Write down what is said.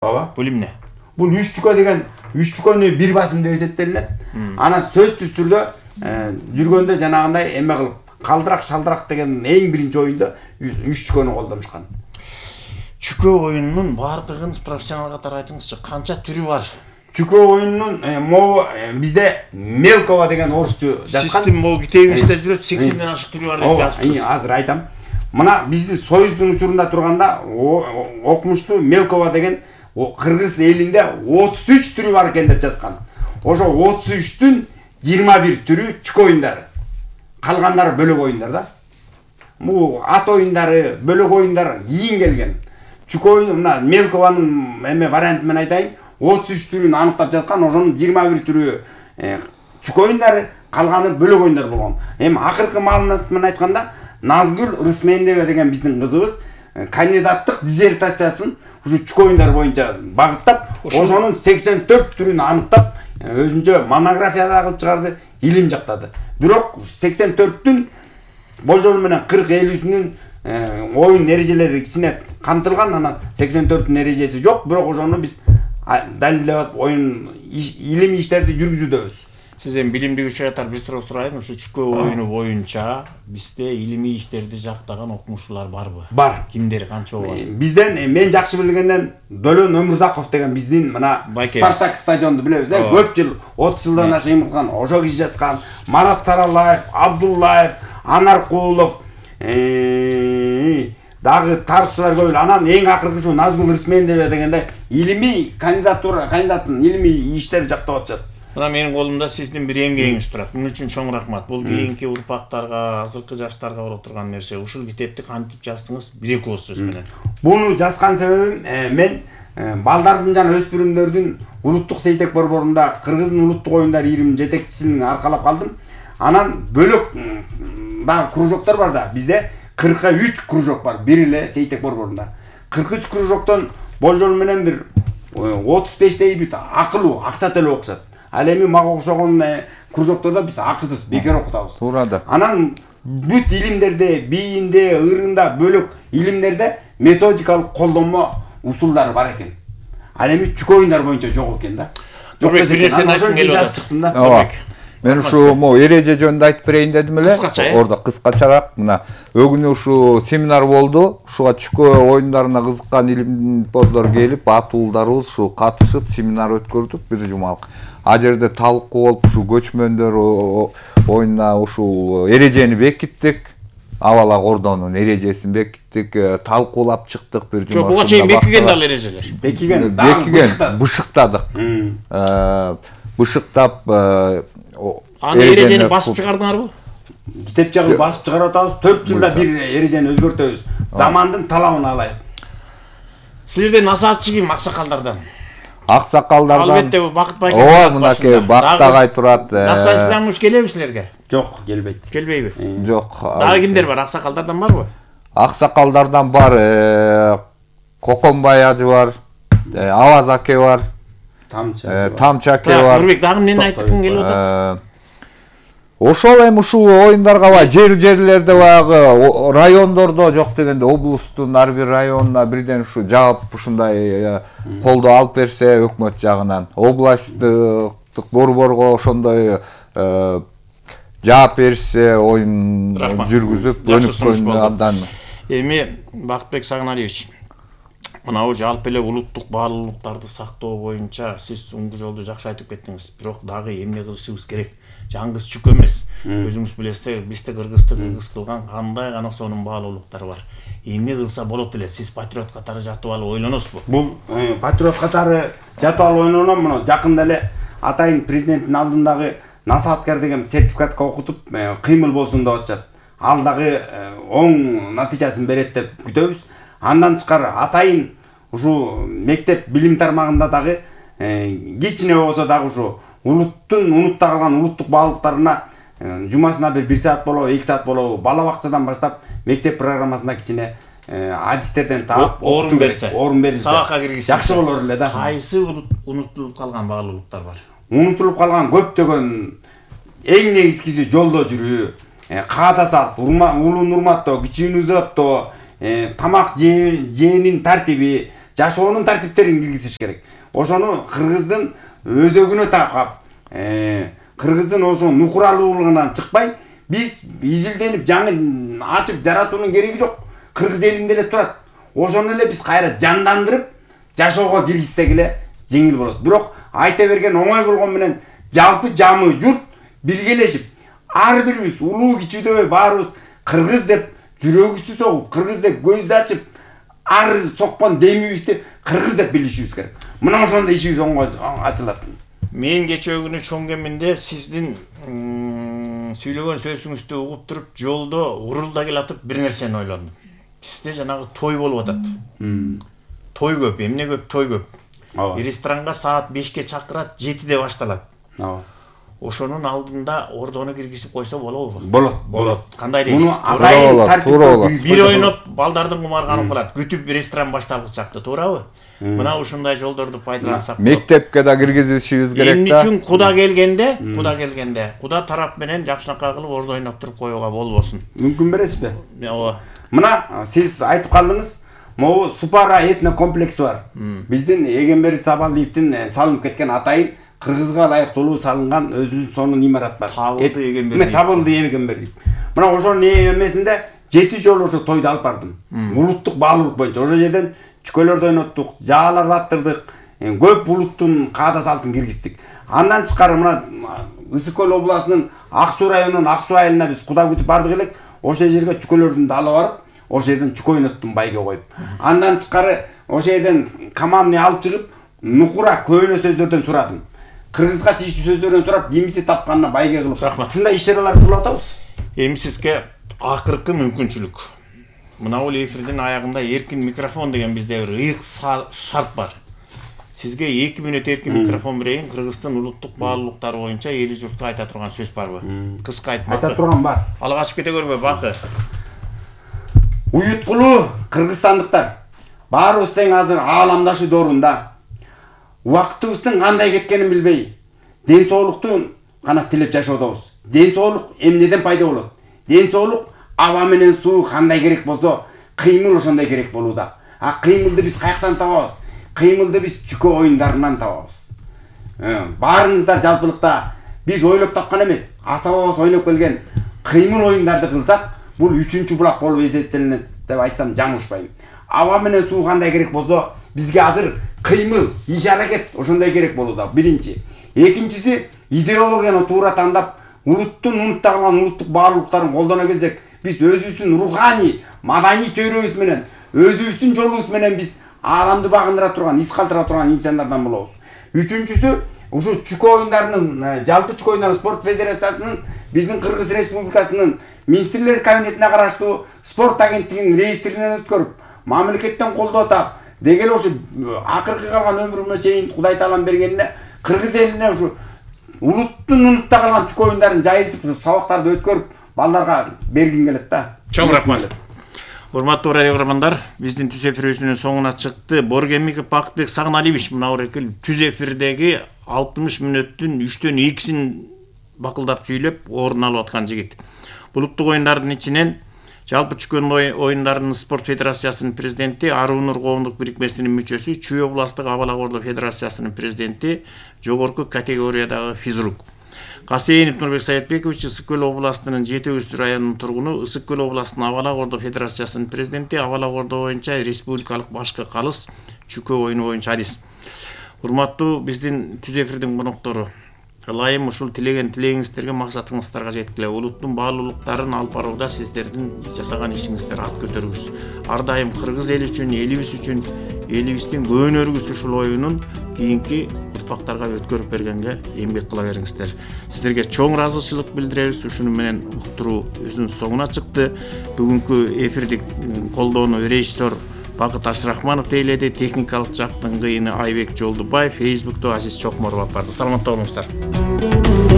Ооба. Бул эмне? Бул 3 чүкө деген 3 чүкөнү бир басым деп эсептелинет. Анан сөзсүз түрдө жүргөндө жанагындай эме кылып калдырак шалдырак деген эң биринчи оюнда 3 чүкөнү колдонушкан. Чүкө оюнунун бардыгын профессионал катары айтыңызчы, канча түрү бар? Чүкө оюнунун могу бизде Мелкова деген орусчу жазган. Систем могу китебиңизде жүрөт, 80ден ашык түрү бар деп жазыпсыз. Азыр айтам. Мына бизди Союздун учурунда турганда окумуштуу Мелкова деген кыргыз элинде 33 түрү бар экен деп жазган. Ошо 33-түн 21 түрү чүкө оюндары. Калгандары бөлөк оюндар да. Бул ат оюндары, бөлөк оюндар кийин келген. Чүкө оюну мына Мелкованын эме варианты менен айтайын. 33 түрүн аныктап жазган, ошонун 21 түрү чүкө оюндары, калганы бөлөк оюндар болгон. Эми акыркы маалымат менен айтканда Назгүл Рысмендева деген биздин кызыбыз кандидаттык диссертациясын ушу чүкө оюндар боюнча багыттап, ошонун 84 түрүн аныктап, өзүнчө монография да кылып чыгарды, илим жактады. Бирок 84-түн болжол менен 40-50-сүнүн оюн эрежелери кичине камтылган, анан 84-түн эрежеси жок, бирок ошону биз далилдеп оюн илимий иштерди жүргүзүүдөбүз. Сиз эми билимдүү киши катары бир суроо сурайын, ушу чүкө оюну боюнча бизде илимий иштерди жактаган окумуштуулар барбы? Бар. Кимдер, канча бар? Бизден мен жакшы билгенден Долон Өмүрзаков деген биздин мына Спартак стадионду билебиз, көп жыл 30 жылдан ашык эмгилган, ошо киши жазган, Марат Саралаев, Абдуллаев, Анаркулов, дагы тарыхчылар көп. Анан эң акыркы ушу Назгүл Рысмендева дегенде илимий кандидатын илимий иштер жактап атышат. Мына менин колумда сиздин бир эмгегиңиз турат. Муну үчүн чоң рахмат. Бул кийинки урпактарга, азыркы жаштарга боло турган нерсе. Ушул китепти кантип жаздыңыз? Бир-эки ооз сөз менен. Буну жазган себебим мен балдардын жана өспүрүмдөрдүн улуттук сейтек борборунда Кыргыздын улуттук оюндар ийримин жетекчисин аркалап калдым. Анан бөлөк дагы кружоктор бар да. Бизде 43 кружок бар бир эле сейтек борборунда. 43 кружоктон болжол менен бир 35-тей бүт акылуу, акча төлөп окушат. Ал эми мага окшогон кружоктордо биз акысыз бекер окутабыз. Туура да. Анан бүт илимдерде, бийинде, ырында, бөлөк илимдерде методикалык колдонмо усулдары бар экен. Ал эми чүкө оюндар боюнча жок экен да. Жок бир нерсени айткым келип атат. Ооба. Мен ушу эреже жөнүндө айтып берейин дедим эле. Ордо кыскачараак мына өгүнү ушу семинар болду. Ушуга чүкө оюндарына кызыккан илимпоздор келип, атуулдарыбыз ушу катышып семинар өткөрдүк бир жумалык. А жерде талкуу болуп ушу көчмөндөр оюнуна ушул эрежени бекиттик. Абалак ордонун эрежесин бекиттик, талкуулап чыктык бир жума. Жок, буга чейин бекиген дал эрежелер. Бекиген, бышыктадык. Бышыктап аны эрежени басып чыгардыңарбы? Китеп жагы басып чыгарып атабыз. 4 жылда бир эрежени өзгөртөбүз. Замандын талабына алайык. Силерден насаатчы ким аксакалдардан? Аксакалдардан. Албетте Бакыт байке. Ооба, мынакей Бактагай турат. Насаатчыдан келеби силерге? Жок, келбейт. Келбейби? Жок. Дагы кимдер бар? Аксакалдардан барбы? Аксакалдардан бар. Коконбай ажы бар. Аваз аке бар. Тамчы аке бар. Нурбек, дагы эмнени айткың келип атат? Ошол эми ушул оюндарга жерлерде баягы райондордо жок дегенде облустун ар бир районуна бирден ушу жаап ушундай колдоо алып берсе өкмөт жагынан, областтык борборго ошондой жаап берсе оюн жүргүзүп өнүккөн абдан. Эми Бакытбек Сагыналиевич, мынабу жалпы эле улуттук баалуулуктарды сактоо боюнча сиз оңгу жолду жакшы айтып кеттиңиз. Бирок дагы эмне кылышыбыз керек? Жаңгыз чүкө эмес. Өзүңүз билесиз, бизде кыргызды кыргыз кылган кандай гана сонун баалуулуктар бар. Эмне кылса болот эле? Сиз патриот катары жатып алып ойлоносузбу? Бул патриот катары жатып алып ойлоном, мына жакында эле атайын президенттин алдындагы насааткер деген сертификатка окутуп, кыймыл болсун деп атышат. Ал дагы оң натыйжасын берет деп күтөбүз. Андан тышкары атайын ушу мектеп билим тармагында дагы кичине болсо дагы ушу улуттун унутта калган улуттук баалуулуктарына жумасына бир саат болобу, 2 саат болобу, бала бакчадан баштап мектеп программасына кичине адистерден таап орун берсе, сабакка киргизсе жакшы болор эле да. Кайсы унутулуп калган баалуулуктар бар? Унутулуп калган көптөгөн эң негизгиси жолдо жүрүү, каада салт, улуун урматтоо, кичүүнү ызаттоо, тамак жээнин тартиби, жашоонун тартиптерин киргизиш керек. Ошону кыргыздын өзөгүнө такап, кыргыздын ошо нукуралуулугунан чыкпай, биз изилденип жаңы ачып жаратуунун кереги жок. Кыргыз элинде эле турат. Ошону эле биз кайра жандандырып, жашоого киргизсек эле жеңил болот. Бирок айта берген оңой болгон менен жалпы жамы журт биргелешип, ар бирибиз улуу кичүүдөбөй баарыбыз кыргыз деп жүрөгүбүздү согуп, кыргыз деп көздү ачып, ар соккон демибизди кыргыз деп билишибиз керек. Мына ошондо ишибиз оңой ачылат. Мен кечээ күнү Чоңгеминде сиздин сүйлөгөн сөзүңүздү угуп туруп, жолдо урулда келатып бир нерсени ойлондум. Бизде жанагы той болуп атат. Той көп, эмне көп, той көп. Ресторанга саат 5-ке чакырат, 7-де башталат. Ошонун алдында ордону киргизип койсо болобу? Болот. Кандай дейсиз? Муну атайын тартипте бир ойноп, балдардын кумарганып калат. Күтүп ресторан башталгыс чакты, туурабы? Мына ушундай жолдорду пайдалансак. Мектепке да киргизишибиз керек да. Эмне үчүн Куда келгенде, Куда тарап менен жакшынакай кылып ордо ойноп туруп коюуга болбосун. Мүмкүн бересизби? Ооба. Мына сиз айтып калдыңыз, могу Супара этно комплекси бар. Биздин Эгембери Табалдиевдин салынып кеткен атайын кыргызга ылайыктуу салынган өзүнүн сонун имарат бар. Табылды Эгембери. Табылды Эгембери. Мына ошонун эмесинде 7 жолу ошо тойду алып бардым. Улуттук баалуулук боюнча ошол жерден чүкөлөрдү ойноттук, жааларды аттырдык, көп улуттун каада салтын киргиздик. Андан тышкары мына Ысык Көл областынын Ак Суу районунун Ак Суу айылына биз Куда күтүп бардык элек. Ошол жерге чүкөлөрдүн да алып барып, ошол жерден чүкө ойноттум байге коюп. Андан тышкары ошол жерден команданы алып чыгып, нукура көөнө сөздөрдөн сурадым. Кыргызга тийиштүү сөздөрдөн сурап, кимиси тапканына байге кылып. Ушундай иш-чараларды кылып атабыз. Эми сизге акыркы мүмкүнчүлүк. Мына бул эфирдин аягында эркин микрофон деген бизде бир ыйык шарт бар. Сизге 2 мүнөт эркин микрофон берейин. Кыргыздын улуттук баалуулуктары боюнча эли журтка айта турган сөз барбы? Кыска айтмак. Айта турган бар. Ал качып кете көрбө, бакы. Уюткулуу кыргызстандыктар, баарыбыз тең азыр ааламдашы доорунда убактыбыздын кандай кеткенин билбей, ден соолукту гана тилеп жашоодобуз. Ден соолук эмнеден пайда болот? Ден соолук аба менен суу кандай керек болсо, кыймыл ошондой керек болууда. А кыймылды биз каяктан табабыз? Кыймылды биз чүкө оюндарынан табабыз. Баарыңыздар жалпылыкта биз ойлоп тапкан эмес, ата-бабабыз ойноп келген кыймыл оюндарды кылсак, бул 3-чү булак болуп эсептелинет деп айтсам жаңылышпайм. Аба менен суу кандай керек болсо, бизге азыр кыймыл, иш-аракет ошондой керек болууда. Биринчи. Экинчиси, идеологияны туура тандап, улуттун унутта калган улуттук баалуулуктарын колдоно келсек, биз өзүбүздүн руханий, маданий чөйрөбүз менен, өзүбүздүн жолубуз менен биз ааламды багындыра турган, из калтыра турган инсандардан болобуз. Үчүнчүсү, ушу чүкө оюндарынын, жалпы чүкө оюндары спорт федерациясынын, биздин Кыргыз Республикасынын Министрлер кабинетине караштуу спорт агенттигинин реестринен өткөрүп, мамлекеттен колдоо тап, дегеле ушу акыркы калган өмүрүмө чейин Кудай таалам бергенине кыргыз элине ушу улуттун унутта калган чүкө оюндарын жайылтып, ушу сабактарды өткөрүп, балдарга бергим келет да. Чоң рахмат. Урматтуу радио көрөрмандар, биздин түз эфирибиздин соңуна чыкты. Боргемиков Бакытбек Сагыналиевич мына эки түз эфирдеги 60 мүнөттүн 3төн 2син бакылдап сүйлөп орун алып аткан жигит. Улуттук оюндардын ичинен жалпы чүкө оюндарынын спорт федерациясынын президенти, Арунур коомдук бирикмесинин мүчөсү, Чүй областтык абал ордо федерациясынын президенти, жогорку категориядагы физрук. Касейинов Нурбек Саятбекович Ысык Көл областынын Жети Өз районунун тургуну, Ысык Көл областынын абал ордо федерациясынын президенти, абал ордо боюнча республикалык башкы калыс чүкө оюну боюнча адис. Урматтуу биздин түз эфирдин коноктору, ылайым ушул тилеген тилегиңиздерге максатыңыздарга жеткиле. Улуттун баалуулуктарын алып барууда сиздердин жасаган ишиңиздер ат көтөргүс. Ар дайым кыргыз эли үчүн, элибиз үчүн, элибиздин көөнөрүбүз ушул оюнун кийинки урпактарга өткөрүп бергенге эмгек кыла бериңиздер. Сиздерге чоң ыраазычылык билдиребиз. Ушуну менен уктуруу өзүнүн соңуна чыкты. Бүгүнкү эфирди колдоону режиссер Бакыт Ашрахманов тейледи, техникалык жактын кыйыны Айбек Жолдубаев, Facebook'та Азиз Чокморов алып барды. Саламатта болуңуздар.